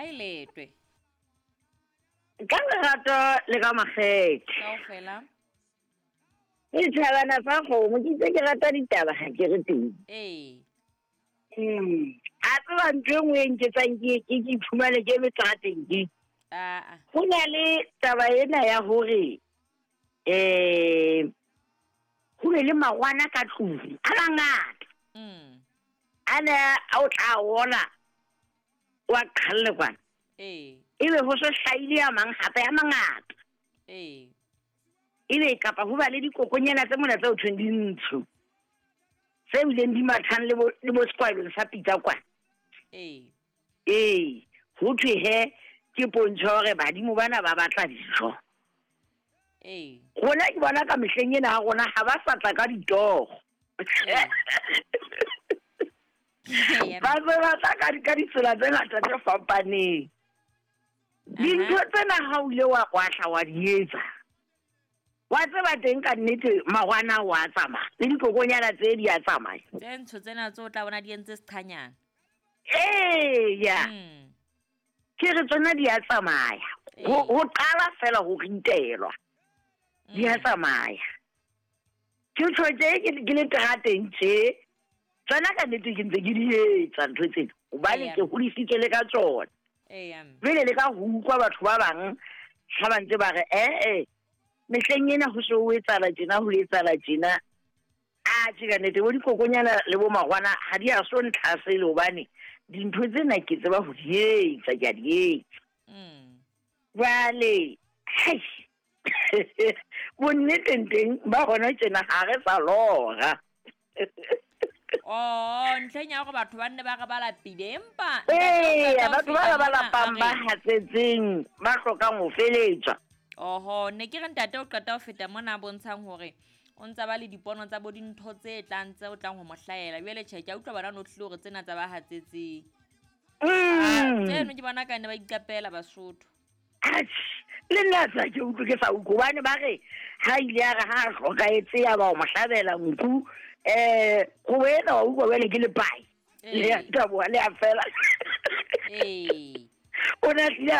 Ga e letwe. Ka lerato le ka makgethe. Kaofela. Ke thabana fa kgomo ke itse ke rata ditaba ga ke re teng. Ee. A tseba ntho e nngwe e nketsang ke ke ke iphumane ke eme terateng ke. Aa. Go na le taba ena ya hore go be le magwana ka tlung a mangata. A ne a o tla ona wa qhalle kwana. Ee. Ebe ho se hlahile a mang hape a mangata. Ee. Ebe kapa ho ba le dikokonyana tse mona tse ho thweng di ntsho. Tse bileng di mathang le bo le bo sekwalong sa pitsa kwana. Ee. Ee, ho thwe he ke pontsho ya hore badimo bana ba batla dijo. Ee. Rona ke bona ka mehleng ena ha rona ha ba sa tla ka ditoro. Ee. Ba se ba tla ka ditsela tse ngata tse fapaneng. Dintho tsena ha o ile wa kwahla wa di etsa. Wa tseba teng ka nnete magwana wa tsamaya le dikokonyana tse di a tsamaya. Tse ntsho tsena tse o tla bona di entse seqhanyana. Eya. Ke re tsona di a tsamaya. Ho qala fela ho ritelwa. Di a tsamaya. Ke tjho tje ke le terateng tje. Tsona ka nnete ke ntse ke di etsa ntho tsena. Hobane ke hodisitswe le ka tsona. Jwale le ka ho utlwa batho ba bang ha ba ntse ba re mehleng ena ho se ho etsahala tjena ho etsahala tjena. A tjhe ka nnete bo dikokonyana le bo magwana ha di a so ntlhasele hobane dintho tsena ke tseba ho di etsa, ke a di etsa. Jwale hai bonneteng teng ba hona tjena ha re sa lora. Oh, ntlheng ya hore batho ba nne ba re ba lapile empa ee, batho ba ba lapang ba hatsetseng ba hlokang ho feletswa. Oho, ne ke re ntate o qeta ho feta mona a bontshang hore o ntsa ba le dipono tsa bo dintho tse tlang tse o tlang ho mo hlahela. Jwale tjhe, ke a utlwa bana no tlile hore tsena tsa ba hatsetseng. Tseno ke bona ka ne ba iqapela Basotho. Atjhe, le nna sa ke utlwe ke sa utlwe hobane ba re ha ile ya re ha a hlokahetse ya ba o mo hlabela nku go ena wa utlwa jwale ke lepai. Le a taboha le a fela. Ee. O ne a tlile a